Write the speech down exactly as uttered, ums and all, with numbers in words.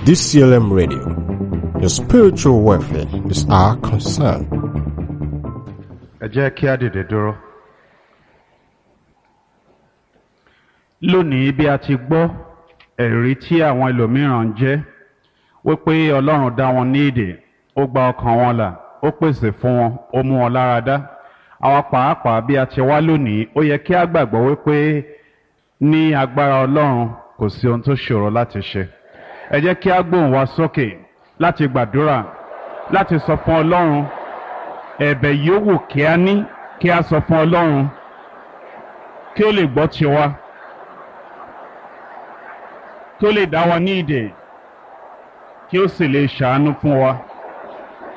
D C L M Radio. Your spiritual welfare is our concern. Ẹ jẹ́ kí á dìde dúró. Lónìí, bí a ti gbọ́ ẹ̀rí tí àwọn ẹlòmíràn ń jẹ́ wípé Ọlọ́run dá wọn ní ìdè, ó gba ọkàn wọn là, ó pèsè fún wọn, ó mú wọn lára dá. Àwa pàápàá, bí a ti wá lónìí, ó yẹ kí a gbàgbọ́ wípé ní agbára Ọlọ́run, kò sí ohun tó ṣòro láti ṣe. Ẹ jẹ́ kí a gbóhùn wa sókè láti gbàdúrà, láti sọ fún Ọlọ́run ẹ̀bẹ̀ yòówù kí a ní, kí a sọ fún Ọlọ́run kí ó lè gbọ́ tiwa, kí ó lè dá wa ní ìdè, kí ó sì lè ṣàánú fún wa.